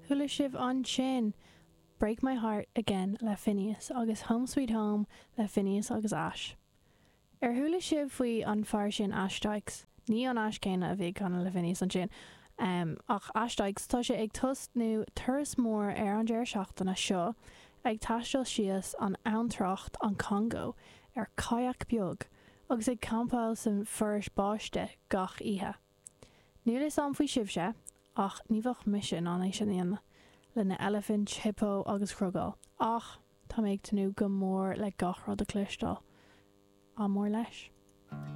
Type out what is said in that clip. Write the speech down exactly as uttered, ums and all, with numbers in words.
Chuala sibh ansin Break My Heart Again le Finneas agus Home Sweet Home le Finneas agus Ash. Ar chuala sibh faoi an fear sin Ash Dykes? Ní an Ash céanna a bhí ag canadh le Finneas ansin. Um, ach Ash Dykes tá sé ag tosnú turas mór ar an deireadh seachtaine seo ag taisteal síos an abhantrach an Congo ar kayak beag agus ag campáil san foraois báistí gach oíche. Níl a fhios agam faoi sibhse ach ní bheadh mise in ann é sin a dhéanamh le na eilifint, hippo agus crocodile. Ach tá mé ag tnúth go mór le gach rud a chloisteáil. Ádh mór leis.